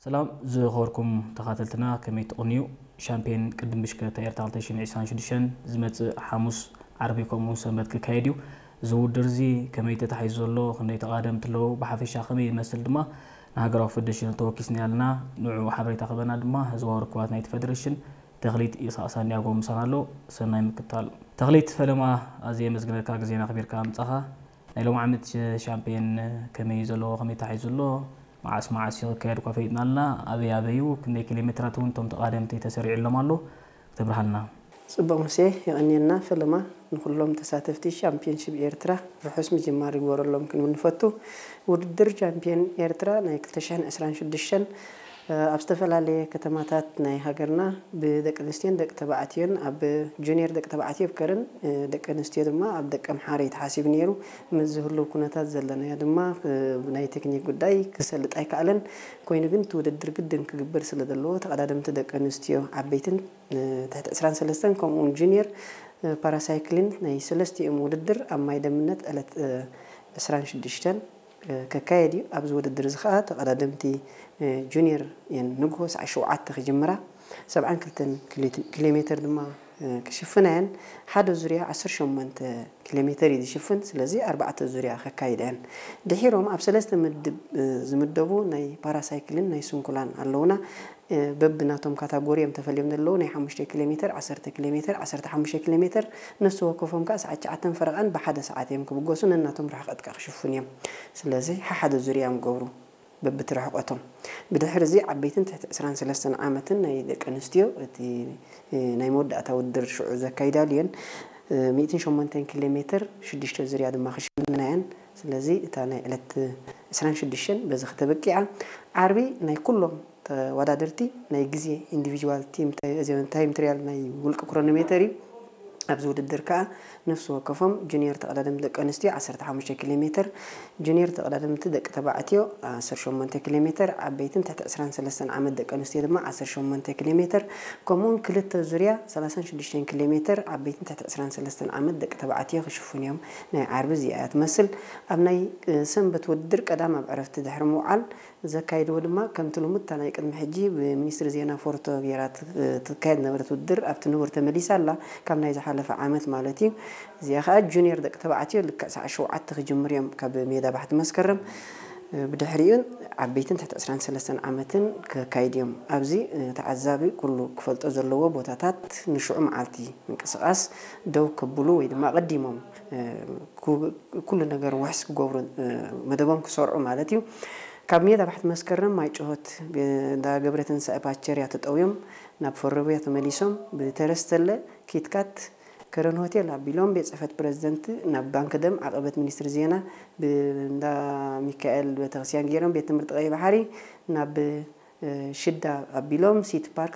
ሰላም ዝኸበርኩም ተኻተልትና፣ ከመይ ትቕንዩ? ሻምፒዮን ቅድም ብሽክለታ ኤርትራ ክልተ ሽሕን ዕስራን ሽዱሽተን ዝመጽእ ሓሙስ፣ ዓርቢ ከምኡ ሰንበት ክካየድ እዩ። እዚ ውድድር እዚ ከመይ ተታሒዙ ዘሎ፣ ክንደይ ተቓደምቲ ኣለዉ፣ ብሓፈሻ ከመይ ይመስል ድማ ንሃገራዊ ፌደሬሽን ተወኪስና ኣለና። ንዕኡ ሓበሬታ ክበና ድማ ህዝባዊ ርክባት ናይቲ ፌደሬሽን ተኽሊት ኢሳቕ ሳንዲያጎ ምሳና ኣሎ። ሰናይ ምክታል። ተኽሊት ፈለማ፣ ኣዝየ የመስግነካ ግዜና ኣኽቢርካ ምጻኻ። ናይ ሎም ዓመት ሻምፒዮን ከመይ እዩ ዘለዎ፣ ከመይ ተታሒዙ ኣሎ፣ መዓስ መዓስ እዩ ክካየድ እኳ ፈሊጥና ኣለና። ኣበይ ኣበይ እዩ፣ ክንደይ ኪሎ ሜትራት እውን እቶም ተቓደምቲ ተሰሪዑሎም ኣሎ፣ ክትብርሃልና። ጽቡቕ ሙሴ፣ የቐንየልና ፈለማ። ንኹሎም ተሳተፍቲ ሻምፒዮንሺፕ ኤርትራ ርሑስ ምጅማር ይግበረሎም ክንብል ንፈቱ። ውድድር ሻምፒዮን ኤርትራ ናይ ክልተ ሽሕን ዕስራን ሽዱሽተን ኣብ ዝተፈላለየ ከተማታት ናይ ሃገርና ብደቂ ኣንስትዮን ደቂ ተባዕትዮን፣ ኣብ ጁኒየር ደቂ ተባዕትዮ ኣብ ከረን፣ ደቂ ኣንስትዮ ድማ ኣብ ደቂ ኣምሓረ እዩ ተሓሲቡ ነይሩ። ምስ ዝህሉ ኩነታት ዘለናዮ ድማ ናይ ቴክኒክ ጉዳይ ክሰልጥ ኣይከኣለን። ኮይኑ ግን እቲ ውድድር ግድን ክግበር ስለ ዘለዎ ተቐዳደምቲ ደቂ ኣንስትዮ ዓበይትን ትሕቲ ዕስራን ሰለስተን ከምኡውን ጁኒየር ፓራሳይክሊን ናይ ሰለስቲኦም ውድድር ኣብ ማይ ደምነት ዕለት ዕስራን ሽዱሽተን ከካየድ እዩ። ኣብዚ ውድድር እዚ ከዓ ተቐዳደምቲ ጁኒየር እየን ንግሆ ሰዓት ሸውዓተ ክጅምራ፣ ሰብዓን ክልተን ኪሎ ሜተር ድማ ክሽፍና እየን። ሓደ ዙርያ ዓሰርተ ሸሞንተ ኪሎ ሜተር እዩ ዝሽፍን። ስለዚ ኣርባዕተ ዙርያ ከካይዳ እየን። ድሒሮም ኣብ ሰለስተ ምድብ ዝምደቡ ናይ ፓራሳይክልን ናይ ስንኩላን ኣለውና። በብናቶም ካታጎሪ እዮም ተፈልዮም ዘለዉ። ናይ ሓሙሽተ ኪሎ ሜተር፣ ዓሰርተ ኪሎ ሜተር፣ ዓሰርተ ሓሙሽተ ኪሎ ሜተር፣ ነፍሲ ወከፎም ከዓ ሰዓት ትሽዓተን ፈረቓን ብሓደ ሰዓት እዮም ክብገሱ፣ ነናቶም ርሕቐት ከዓ ክሽፍኑ እዮም። ስለዚ ሓሓደ ዙርያ እዮም ገብሩ በብቲ ርሕቐቶም። ብድሕሪ እዚ ዓበይትን ትሕቲ ዕስራን ሰለስተን ዓመትን ናይ ደቂ ኣንስትዮ እቲ ናይ መወዳእታ ውድድር ሽዑ ዘካይዳሉ እየን። ሚእትን ሸሞንተን ኪሎ ሜተር ሽዱሽተ ዙርያ ድማ ክሽፍና እየን። ስለዚ እታ ናይ ዕለት ዕስራን ሽዱሽተን በዚ ከተበቂዓ። ዓርቢ ናይ ኩሎም ተወዳደርቲ ናይ ግዜ ኢንዲቪጁዋል ቲም ታይም ትሪያል ናይ ውልቂ ክሮኖሜተር እዩ። ኣብዚ ውድድር ከዓ ነፍሲ ወከፎም ጁኒየር ተቐዳደምቲ ደቂ ኣንስትዮ ዓሰርተ ሓሙሽተ ኪሎ ሜተር፣ ጁኒየር ተቐዳደምቲ ደቂ ተባዕትዮ ዓሰርተ ሸሞንተ ኪሎ ሜተር፣ ዓበይትን ትሕቲ ዕስራን ሰለስተን ዓመት ደቂ ኣንስትዮ ድማ ዓሰርተ ሸሞንተ ኪሎ ሜተር፣ ከምኡውን ክልተ ዙርያ ሰላሳን ሽዱሽተን ኪሎ ሜተር ዓበይትን ትሕቲ ዕስራን ሰለስተን ዓመት ደቂ ተባዕትዮ ክሽፍኑ እዮም። ናይ ዓርቢ እዚኣ እያ ትመስል። ኣብ ናይ ሰንበት ውድድር ቀዳም ኣብ ዕረፍቲ ድሕሪ ምውዓል ዘካይድዎ ድማ ከምቲ ልሙድ እታ ናይ ቅድሚ ሕጂ ብሚኒስትሪ ዜና ፎርቶ ጌራ ትካየድ ነበረት ውድድር ኣብቲ ንቡር ተመሊሳ ኣላ፣ ካብ ናይ ዝሓለፈ ዓመት ማለት እዩ። እዚኣ ከዓ ጁኒየር ደቂ ተባዕትዮ ልክዕ ሰዓት ሸውዓተ ክጅምር እዮም ካብ ሜዳ ባሕቲ መስከረም። ብድሕሪኡ ዓበይትን ትሕቲ ዕስራን ሰለስተን ዓመትን ክካይድ እዮም። ኣብዚ ተዓዛቢ ኩሉ ክፈልጦ ዘለዎ ቦታታት ንሽዑ መዓልቲ ምንቅስቓስ ደው ከብሉ ወይ ድማ ኣቐዲሞም ኩሉ ነገር ውሕስ ክገብሩ፣ መደቦም ክሰርዑ ማለት እዩ። ካብ ሜዳ ባሕቲ መስከረም ማይ ጭሆት እንዳ ገብረ ትንሳኤ ፓቸርያ ተጠውዮም ናብ ፈረቡያ ተመሊሶም ብተረስተለ ኪትካት ከረን ሆቴል ኣቢሎም ቤት ጽሕፈት ፕረዚደንት ናብ ባንክ ደም ዓቐበት ሚኒስትሪ ዜና ብእንዳ ሚካኤል ቤተክርስትያን ገይሮም ቤት ትምህርቲ ቀይ ባሕሪ ናብ ሽዳ ኣቢሎም ሲቲ ፓርክ